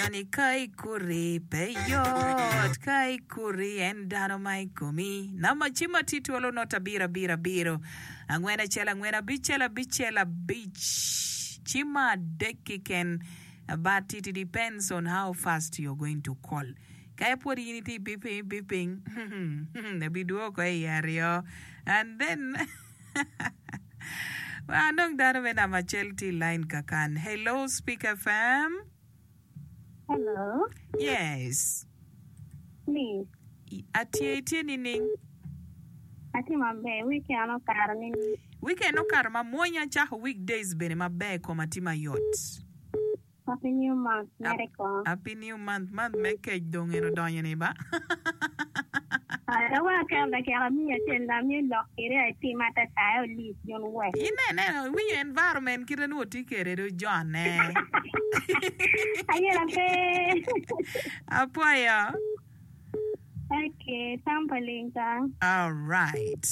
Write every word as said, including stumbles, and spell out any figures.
Waco ni ka ikuri pe yot, ka ikuri en dano ma i komi. Namba cim atye twolo not abiro abiro abiro angwen acel angwen abicel abicel abic cim adek keken but it depends on how fast you're going to call. Ka ipwod in itye beeping beeping abidwoko i aryo and then anong dano me namba acel tye i line kakan. Hello Speak FM. Hello. Yes. Please. Atye itye nining? Atye maber. Weekend okato nining? Weekend okato mamwonya cako weekdays bene maber koma tye mayot. Happy new month. Mere ko. Happy new month. Month me kec dong en odonyo ni ba. Awa kel dakika miya acel na miyo lok kede atim atata olis jon wek. Inene iwinyo environment kite ni watye kwede do jone. Ayela pe. Apwoyo. Okay, tam pa ling ka. All right.